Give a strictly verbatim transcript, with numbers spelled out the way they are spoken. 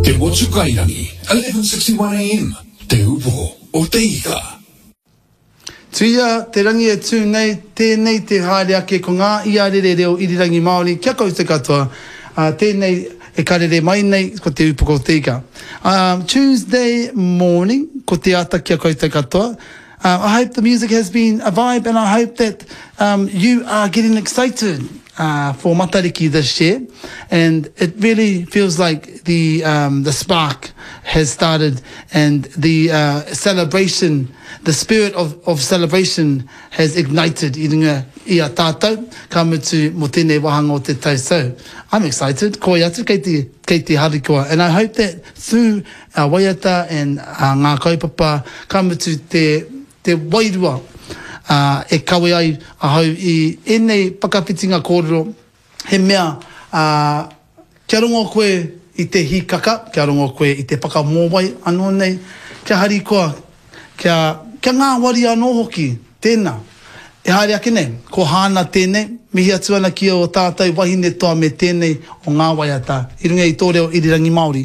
Te Motu Kairangi, eleven sixty-one A M, Te Upoko o Te Ika. Tuia te rangi e tū nei, tēnei te haere ake ko ngā iarere reo irirangi Māori kia koutou katoa. Uh, tēnei e karere mai nei ko Te Upoko o Te Ika. Um, Tuesday morning, ko te ata kia koutou katoa. Uh, I hope the music has been a vibe and I hope that um, you are getting excited uh, for Matariki this year. And it really feels like the, um, the spark has started and the uh, celebration, the spirit of, of celebration has ignited i runga i a tātou, ka mutu mo tēnei wāhanga o te tau. So, I'm excited. Koi atu kei te, kei te harikoa. And I hope that through our waiata and uh, ngā kaupapa, ka mutu te, te wairua uh, e kawe ai ahau i ēnei whakawhitinga kōrero, he mea uh, kia rongo koe i te hikaka, kia rongo koe i te whakamōwai anō nei, kia harikoa, kia, kia ngāwari anō hoki, tēnā. E haere ake nei, ko Hāna tēnei, mihi atu ana ki o tātou wahine toa me tēnei o ngā waiata, i runga i tō reo irirangi Māori.